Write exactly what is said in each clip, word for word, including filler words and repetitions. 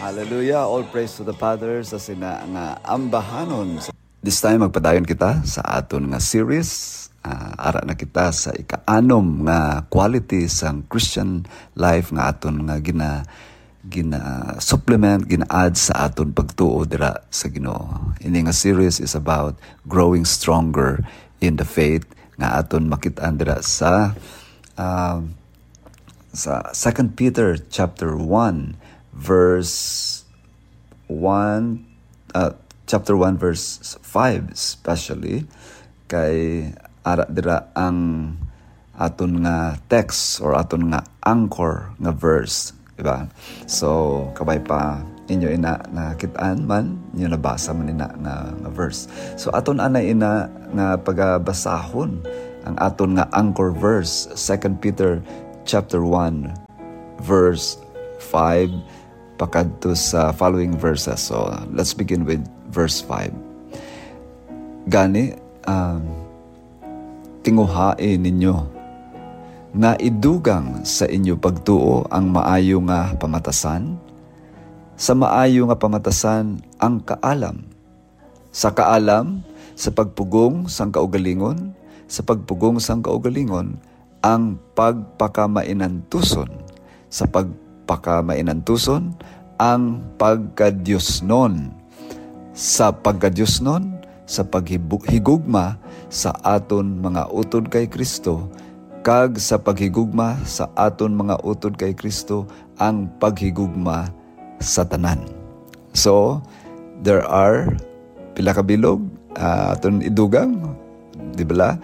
Hallelujah. All praise to the Father sa sina nga ambahanon. This time, magpadayon kita sa aton nga series. Ah, ara na kita sa ika-anom nga quality sang Christian life nga aton nga gina-, gina-supplement, gina-add sa aton pagtuo dira sa Ginoo. Ini nga series is about growing stronger in the faith nga aton makit-an dira sa, ah, sa Second Peter chapter one, verse one, uh, chapter one, verse five especially, kay ara dira ang aton nga text or aton nga anchor nga verse, di ba? So, kabay pa inyo ina nakit-an man, inyo nabasa man ina nga, nga verse. So, aton anay ina nga pagabasahon ang aton nga anchor verse, Second Peter chapter one, verse five pakadto sa following verses. So, let's begin with verse five. Gani, um, tinguhai ninyo nga idugang sa inyo pagtuo ang maayo nga pamatasan, sa maayo nga pamatasan ang kaalam, sa kaalam, sa pagpugong sang kaugalingon, sa pagpugong sang kaugalingon, ang pagpakamainantuson, sa pagpakamainantuson, ang pagkadiosnon, sa pagkadiosnon, sa paghigugma sa aton mga utod kay Cristo, kag sa paghigugma sa aton mga utod kay Cristo, ang paghigugma sa tanan. So, there are pila ka bilog, ah, aton idugang, di bala?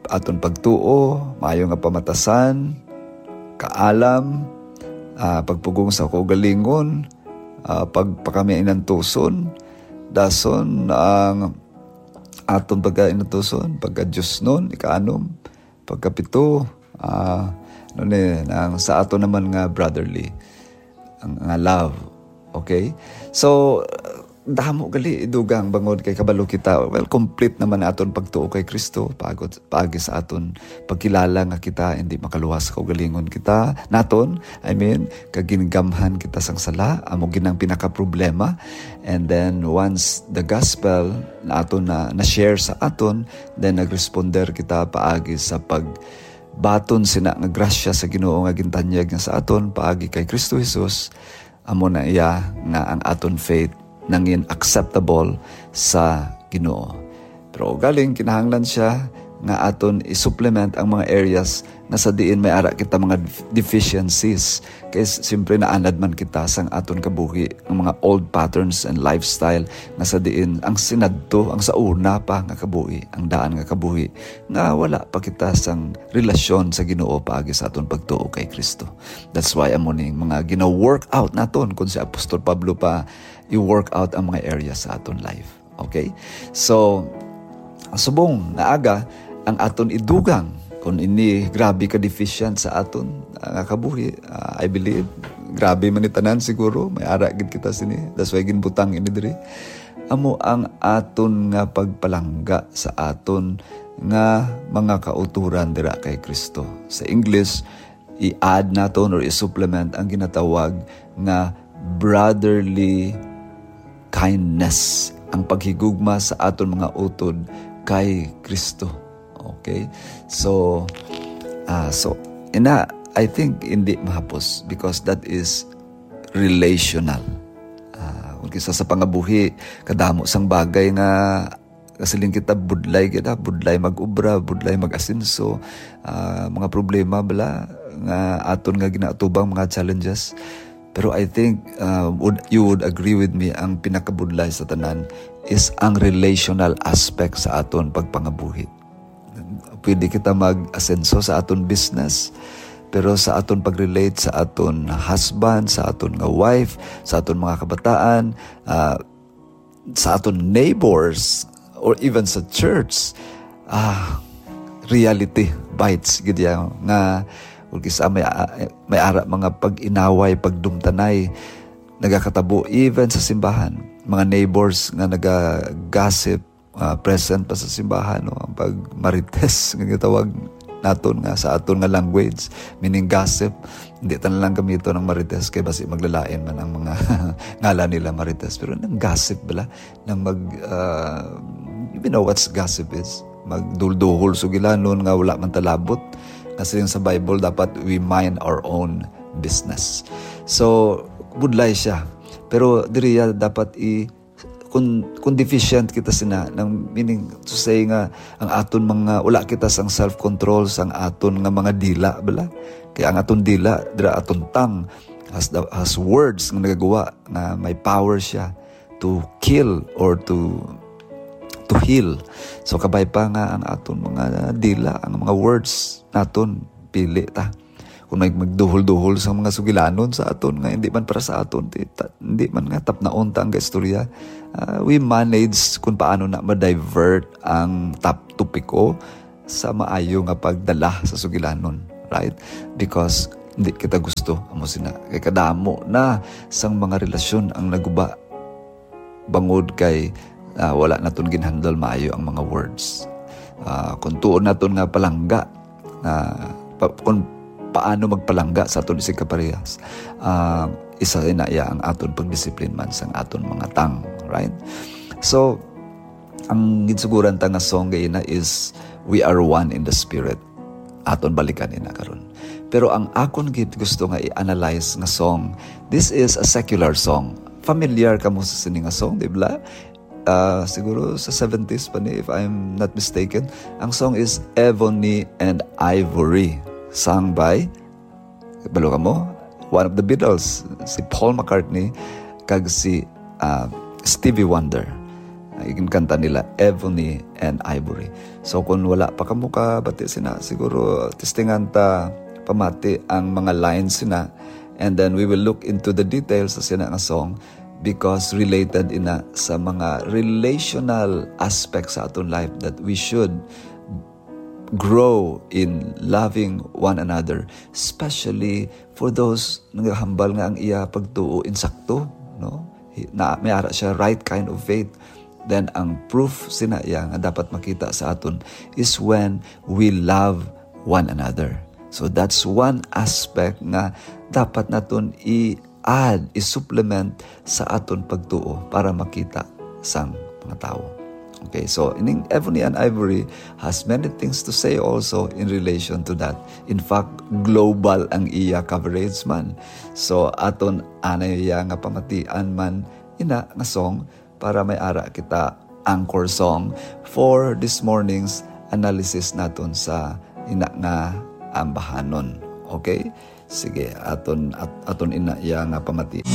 Aton pagtuo, maayo nga pamatasan, kaalam, ah, pagpugong sa kaugalingon, ah, pagpakamainantuson, dason ang aton pagkainantuson, pagkadiosnon, ikaanom, pagkapito, ah, ano ni, ang sa ato naman nga brotherly, ang, nga love. Okay? So, damo gali idugang bangod kay kabalo kita. Well, complete naman aton pagtuo kay Kristo, paagi, paagi sa aton pagkilala nga kita hindi makaluwas sa kaugalingon kita, naton, I mean, kag gingamhan kita sang sala, amo gid ang pinakaproblema. And then, once the gospel na aton na, na-share sa aton, then nagresponder kita paagi sa pag baton sina nga grasya sa Ginoo nga gintanyag niya sa aton paagi kay Kristo Jesus, amo na iya nga ang aton faith nangin acceptable sa Ginoo. Pero galing kinahanglan siya nga aton i-supplement ang mga areas nga sa diin may ara kita mga def-, deficiencies. Kay s-, siyempre naanad man kita sang aton kabuhi, ang mga old patterns and lifestyle nga sa diin ang sinadto, ang sa una pa nga kabuhi, ang daan nga kabuhi, nga wala pa kita sang relasyon sa Ginoo paagi sa aton pagtuo kay Kristo. That's why amo ning mga gina-work out naton, kung si Apostol Pablo pa i-work out ang mga area sa aton life. Okay? So, subong nga aga ang aton idugang kung ini grabe ka deficient sa aton, ah, nga kabuhi, ah, I believe grabe man ni tanan siguro, may ara gid kita sini. That's why ginbutang ini diri. Amo ang aton nga pagpalangga sa aton nga mga kauturan dira kay Kristo. Sa English, i-add naton or i-supplement ang ginatawag nga brotherly kindness, ang paghigugma sa aton mga utod kay Kristo. Okay? So, ah, so, ina, I think hindi mahapos because that is relational. Ah, kung kisa sa pangabuhi, kadamo sang bagay nga kasiling kita, budlay kita, budlay mag-obra, budlay mag-asenso, ah, mga problema bala nga aton nga ginaatubang, mga challenges. Pero I think, ah, would, you would agree with me, ang pinakabudlay sa tanan is ang relational aspect sa aton pagpangabuhi. Pwede kita mag-asenso sa aton business, pero sa aton pag-relate sa aton husband, sa aton nga wife, sa aton mga kabataan, ah, sa aton neighbors, or even sa church, ah, reality bites gid yan nga kung kisa may, ah, may ara mga pag-inaway, pagdumtanay, nagakatabo even sa simbahan. Mga neighbors nga naga-gossip, ah, present pa sa simbahan, no? Ang pagmarites nga gitawag, naton nga sa aton nga language, meaning gossip. Hindi ta na lang gamiton ang Marites kay basi maglalain man ang mga ngalan nila Marites. Pero nang gossip bala, nang mag, ah, you know what gossip is? Magdulduhol sugilanon nga wala man talabot. Kasi yung sa Bible, dapat we mind our own business. So, budlay siya. Pero diriya dapat i kung, kung deficient kita sina, nang meaning to say nga ang aton mga, wala kita sang self-control sang aton nga mga dila bala. Kaya ang aton dila, dira aton tongue, has, the, has words nga nagagawa nga may power siya to kill or to to heal. So kabay pa nga ang aton mga dila, ang mga words naton, pili ta. Kung may magduhol-duhol sa mga sugilanon sa aton nga hindi man para sa aton, di, ta, hindi man nga tapnaon ta ang istorya, ah, we manage kung paano na ma-divert ang top topiko sa maayo nga pagdala sa sugilanon, right? Because hindi kita gusto amo sina kay kadamo na sang mga relasyon ang naguba bangod kay, ah, wala naton ginhandle maayo ang mga words. Ah, kung tuon naton nga palangga, ah, pa, kung paano magpalangga sa aton isig kaparehas, ah, isa na iya ang aton pagdisiplin man sang aton mga tang, right? So, ang ginsuguran ta nga song gayina is We Are One in the Spirit. Aton balikan ina karon. Pero ang akon gid gusto nga i-analyze nga song, this is a secular song. Familiar kamo sa sini nga song, di ba? Ah, siguro sa seventies pa ni, if I'm not mistaken. Ang song is Ebony and Ivory, sung by, balo kamo, one of the Beatles, si Paul McCartney kag si, ah, Stevie Wonder. Ang kanta nila, Ebony and Ivory. So, kung wala pa kamo kabati sina, siguro testingan ta pamati ang mga lines sina, and then we will look into the details sa sina nga song, because related ina sa mga relational aspects sa aton life that we should grow in loving one another, especially for those nagahambal nga ang iya pagtuo insakto, no? Hi-, na may ara siya right kind of faith. Then ang proof sina iya nga dapat makita sa aton is when we love one another. So that's one aspect nga dapat naton i-add, i-supplement sa aton pagtuo para makita sang mga tawo. Okay, so ining Ebony and Ivory has many things to say also in relation to that. In fact, global ang iya coverage man. So aton anay iya nga pamatian man ina nga song para may ara kita anchor song for this morning's analysis naton sa ina nga ambahanon. Okay? Sige, aton at, aton ina iya nga pamati.